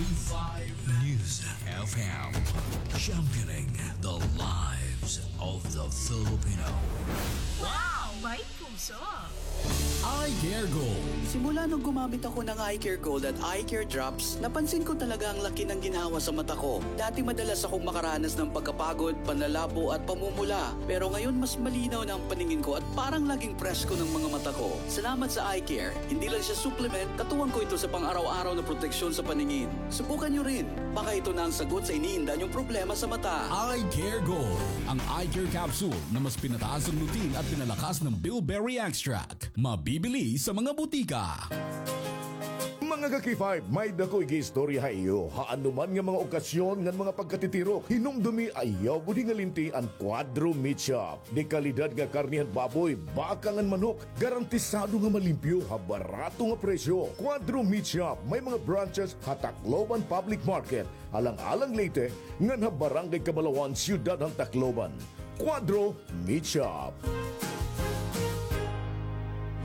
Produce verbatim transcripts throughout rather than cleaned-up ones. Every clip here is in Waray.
Five News F M, championing the lives of the Filipino. Wow! May puso! Eye Care Gold. Simula nung gumamit ako ng Eye Care Gold at Eye Care Drops, napansin ko talaga ang laki ng ginhawa sa mata ko. Dati madalas akong makaranas ng pagkapagod, panlalabo at pamumula. Pero ngayon mas malinaw na ang paningin ko at parang laging presko ng mga mata ko. Salamat sa Eye Care. Hindi lang siya supplement, katuwang ko ito sa pang-araw-araw na proteksyon sa paningin. Subukan niyo rin. Baka ito na ang sagot sa iniinda niyong problema sa mata. Eye Care Gold, ang eye care capsule na mas pinataas ang lutein at pinalakas ng bilberry extract. Mabibili sa mga butika. Mga ka-K five, may-ada ko igiistorya ha iyo. Ha anuman nga mga okasyon ngan mga pagkatitirok, hinumdumi ayaw gud hingalinti an Cuadro Meat Shop. De kalidad nga karne han baboy, baka ngan manok, garantisado nga malimpyo ha barato nga presyo. Cuadro Meat Shop, may mga branches ha Tacloban Public Market, Alang-alang Leyte, ngan ha Barangay Cabalawan, Siyudad han Tacloban. Cuadro Meat Shop.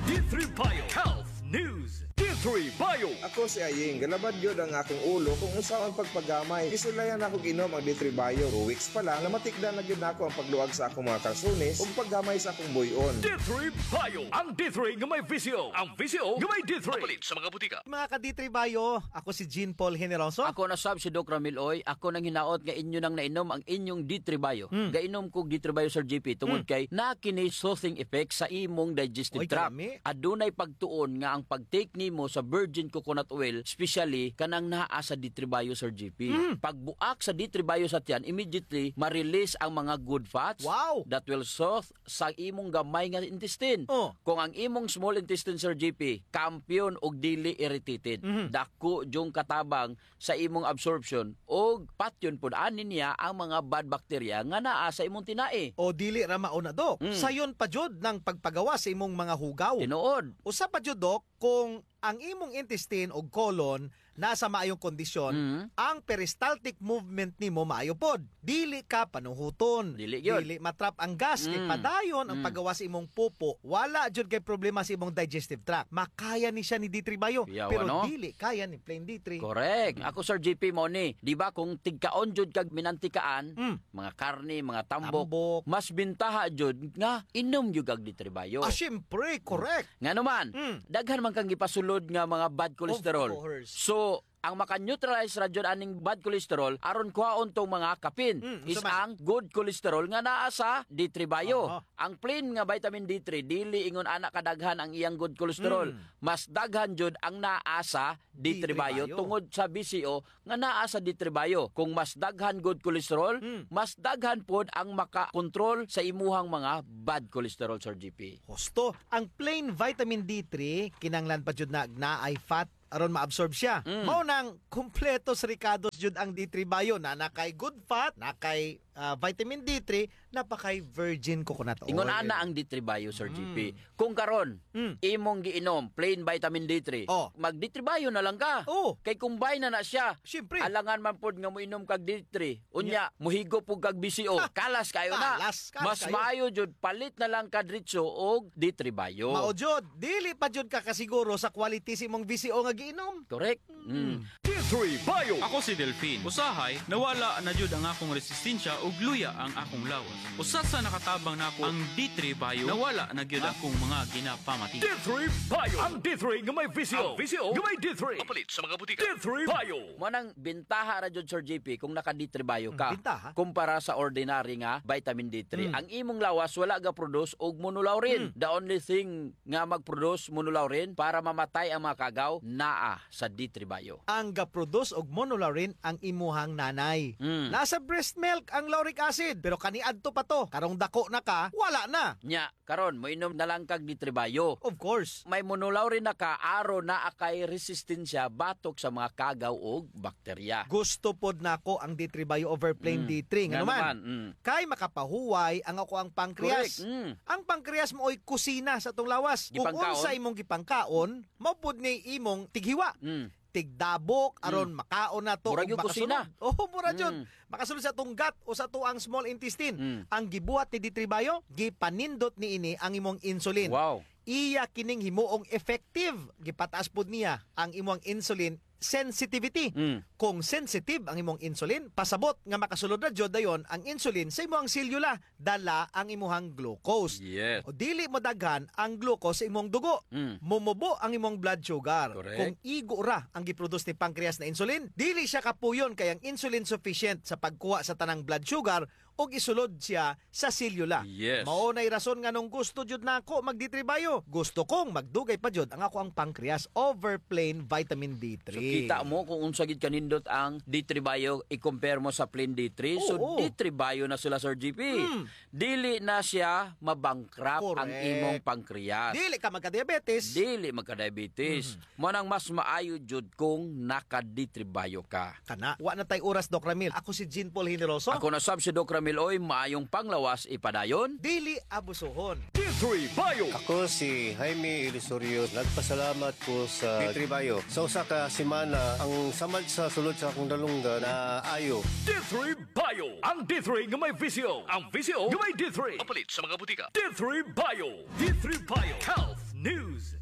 D three Bio Health News. D three Bio. Ako si Aying. Galabad gyud ang akong ulo kung unsaon pagpagamay. Gisulayan nako og inom ang D three Bio. Two weeks pa lang, namatikdan na gyud nako ang pagluag sa akong mga kalsones ug paggamay sa akong buy-on. D three Bio. Ang D three nga may V C O. Ang V C O nga may D three. Mapalit sa mga butika. Mga ka-D three Bio, ako si Jean Paul Generoso. Ako na sab si Doc Ramil Oy. Ako nanghinaot nga inyo nang nainom ang inyong D three Bio. Hmm. Gainom ko D three Bio, Sir G P, tungod Hmm. kay naa kini soothing effect sa imong digestive Oy, tract. Kalami. Adunay pagtuon nga ang pag-take nimo sa virgin coconut oil, especially kanang naa sa D three Bio, Sir G P. Hmm. Pagbuak sa D three Bio sa tiyan, immediately ma-release ang mga good fats Wow. that will soothe sa imong gamay nga intestine. Oh. Kung ang imong small intestine, Sir G P, kampiyon og dili irritated, Mhm. dako jud katabang sa imong absorption, og patyon pod ani niya ang mga bad bacteria nga naa sa imong tinai. O dili ra mao na, Dok. Mm. Sayon pa jud nang pagpagawas sa imong mga hugaw. Tinuod. Usa pa jud, Dok, kung ang imong intestine o colon naa sa maayong kondisyon, Mm. ang peristaltic movement nimo maayo pod. Dili ka panuhuton. Dili gyud. Dili matrap ang gas, Mm. kay padayon ang Mm. paggawas sa imong pupo. Wala jud kay problema sa imong digestive tract. Makaya ni siya ni D three Bio. Yawa, Pero no? dili kaya ni plain D three. Correct. Ako, Sir G P, mao ni. Di ba kung tigkaon jud kag minantikaan, Mm. mga karne, mga tambok, Tambok. mas bintaha jud nga inom jud kag D three Bio. Ah, syempre, correct. Ngano man, Mm. daghan man kang gipasulod nga mga bad cholesterol. Of course. So, ang maka-neutralize ra jud aning bad cholesterol, aron kuhaon tong mga kapin, Mm, is unsa man? ang good cholesterol nga naa sa D three Bio. Aha. Ang plain nga vitamin D three, dili ingon ana kadaghan ang iyang good cholesterol. Mm. Mas daghan jud ang naa sa D three Bio D three Bio. tungod sa V C O nga naa sa D three Bio. Kung mas daghan good cholesterol, Mm. mas daghan pod ang makakontrol sa imuhang mga bad cholesterol, Sir G P. Husto, ang plain vitamin D three, kinahanglan pa jud na naay fat aron maabsorb siya. Mm. Mao nang kumpletos rikados jud ang D three Bio, na naa kay good fat, naa kay, ah, vitamin D three, naa pa kay virgin coconut oil. Ingon ana ang D three Bio, Sir Mm. G P. Kung karon, Mm. imong giinom, plain vitamin D three, Oh. mag-D three Bio na lang ka. Oh. Kay combine na na siya. Siyempre. Alangan man pod nga moinom kag D three. Unya, Nya. muhigop pod kag V C O. Ha! Kalas kayo na. Kalas, kalas Mas kayo. maayo jud, palit na lang ka diretso og D three Bio. Mao jud, dili pa jud ka kasiguro sa quality sa imong V C O nga giinom. Correct. Mm. Mm. D three Bio. Ako si Delfin. Usahay, nawala na jud ang akong resistensya ug luya ang akong lawas. Usa sa nakatabang nako ang D three Bio. Nawala na gyud Ah. akong mga ginapamati. D three Bio. Ang D three nga may V C O. Ang V C O nga may D three. Mapalit sa mga butika. D three Bio. Mao nang bintaha ra jud, Sir G P, kung naka D three Bio ka. Mm, bintaha. Kumpara sa ordinary nga vitamin D three. Mm. Ang imong lawas wala ga-produce og monolaurin. Mm. The only thing nga mag-produce monolaurin para mamatay ang mga kagaw, naa sa D three Bio. Ang ga-produce og monolaurin ang imuhang nanay. Mm. Nasa breast milk ang lauric acid, pero kaniadto pa to. Karong dako na ka, wala na. Nya, karon, moinom na lang kag D three Bio. Of course. May monolaurin na ka, aron naa kay resistensya batok sa mga kagaw ug bakterya. Gusto pod nako ang D three Bio over plain Mm. D three. Ngano Ngano man? man? Mm. Kay makapahuway ang akoang pancreas. Correct. Mm. Ang pancreas maoy kusina sa atong lawas. Kung Gipangkaon? unsa imong gipangkaon, mao pod ni imong tighiwa. Mm. Tigdabok, aron Mm. makaon nato Murag ug yung kusina. makasulod. Oo, mura jud. Mm. Makasulod sa atong gut o sa atoang small intestine. Mm. Ang gibuhat ni D three Bio, gipanindot niini ang imong insulin. Wow. Iya kining himuong effective. Gipataas pod niya ang imong insulin sensitivity. Mm. Kung sensitive ang imong insulin, pasabot nga makasulod na jud dayon ang insulin sa imong selula, dala ang imuhang glucose. Yes. O dili madaghan ang glucose sa imong dugo. Mm. Mumubo ang imong blood sugar. Correct. Kung igo ra ang giproduce ni pancreas na insulin, dili siya kapuyon kay ang insulin sufficient sa pagkuha sa tanang blood sugar ug isulod siya sa selula. Yes. Mao nay rason nganong gusto jud nako mag D three Bio. Gusto kong magdugay pa jud ang ako ang pancreas over plain vitamin D three. So, kita mo kung unsa gid kanindot ang D three Bio i-compare mo sa plain D three. So, oo, D three Bio na sila, Sir G P. Mm. Dili na siya mabankrupt ang, correct, imong pancreas. Dili ka magka-diabetes. Dili magka-diabetes. Mm. Mao nang mas maayo jud kung naka-D three Bio ka. Kana. Wa na tay oras, Doc Ramil. Ako si Jean Paul Generoso. Ako na sab si Doc Ramil Oy, maayong panglawas ipadayon. Dili abusuhon. D three Bio. Ako si Jaime Ilusorio. Nagpasalamat ko sa D three Bio. Sa usa ka semana, ang samad sa sulod sa akong dalunggan naayo. D three Bio. Ang D three nga may visyo. Ang visyo nga may D three. Mapalit sa mga butika. D three Bio. D three Bio. Health News.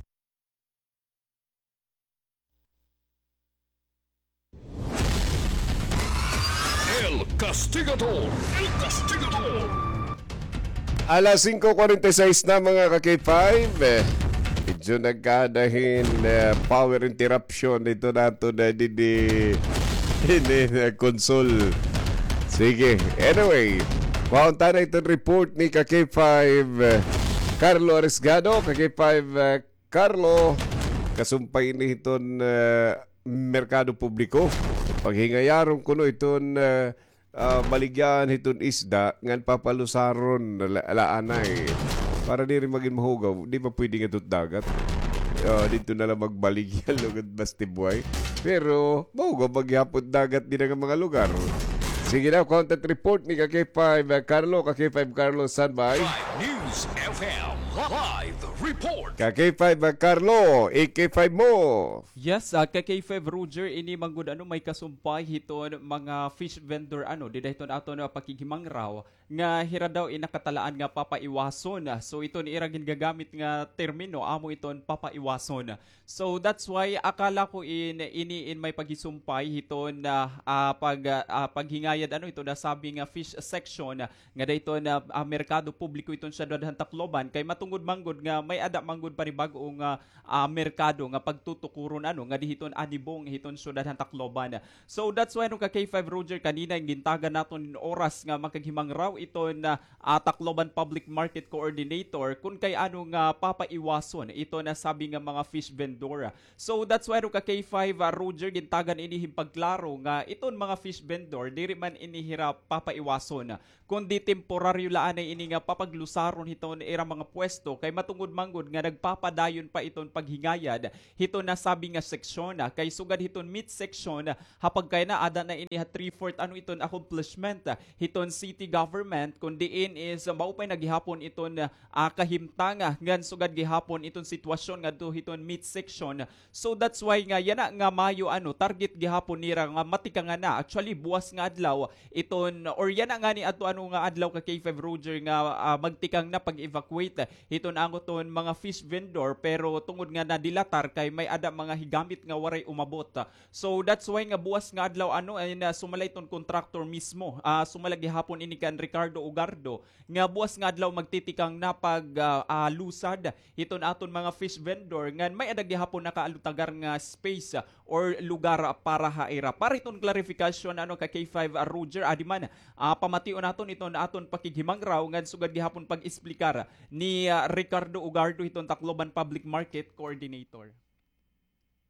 El Castigador. El Castigador. Alas singko kwarenta y seis na, mga ka-K five. Eh, medyo nagkadahin, eh, power interruption dito nato na didi, didi, eh, console. Sige. Anyway, kuhaon ta na iton report ni ka-K five, eh, Carlo Arisgado, ka-K five, eh, Carlo, kasumpay ini hiton, eh, merkado publiko. Paghingayaron kuno iton, eh, ah, baligyan hiton isda ngan papalusaron la-, la anay. Para diri magin mahugaw, di pa pwede ngadto dagat. Ah, didto na la magbaligya lugod bas tibuay. Pero mahugaw pa gihapon dagat dida nga mga lugar. Sige na, content report ni ka-K five, ah, Carlo, ka-K five Carlo, standby. Five News F M live report. Ka-K five, ah, Carlo, i-K five mo. Yes, ah, ka-K five Roger, ini man gud ano, may kasumpay hiton mga fish vendor, ano, dida hiton aton, ah, pakighimangraw nga hira daw in nakatalaan nga papaiwason. So iton ira gingagamit nga termino, amo iton papaiwason. So that's why akala ko in, ini in may paghisumpay hiton, ah, ah, pag, ah, ah, paghingayad, ano, iton nasabi nga fish section, ah, nga dida hiton, ah, merkado publiko iton siyudad han Tacloban, kay matungod man gud nga may-ada man gud panibag-o nga, ah, merkado nga pagtutukuron, ano, nga dida hiton anibong hiton siyudad han Tacloban. So that's why, ano, ka-K five Roger, kanina gintagan naton oras nga makaghimangraw iton, ah, ah, Tacloban Public Market Coordinator kun kay ano nga papaiwason iton nasabi nga mga fish vendor. So that's why, ano, ka-K five, ah, Roger, gintagan ini hin pagklaro nga iton mga fish vendor diri man ini hira papaiwason, kundi temporaryo la anay ini nga papaglusaron hiton ira mga pwesto, kay matungod man gud nga nagpapadayon pa iton paghingayad hiton nasabi nga seksyon, ah, kay sugad hiton meat section, ah, ha pagkayana ada na ini ha three-fourth, ano, iton accomplishment, ah, hiton city government, kun diin is, ah, maupay na gihapon iton, ah, kahimtang, ah, ngan sugad gihapon iton sitwasyon ngadto hiton meat section. So that's why nga yana nga Mayo, ano, target gihapon nira nga matikangan na. Actually, buwas nga adlaw iton, or yana ngani adto, ano, nga adlaw, ka-K five Roger, nga, ah, magtikang na pag-evacuate hiton angoton mga fish vendor, pero tungod nga nadilatar kay may-ada mga higamit nga waray umabot. So that's why nga buwas nga adlaw, ano, ay na sumala iton contractor mismo. Ah, sumala gihapon ini kan Ricardo Ugardo nga buwas nga adlaw magtitikang na pag, ah, ah, lusad hiton aton mga fish vendor ngan may-ada gihapon nakaalutagar nga space, ah, or lugar para ha ira. Para hiton clarification, ano, ka-K five, ah, Roger, adi man, ah, pamation naton iton aton pakighimangraw ngan sugad gihapon pag-esplikar ni, ah, Ricardo Ugardo hiton Tacloban Public Market Coordinator.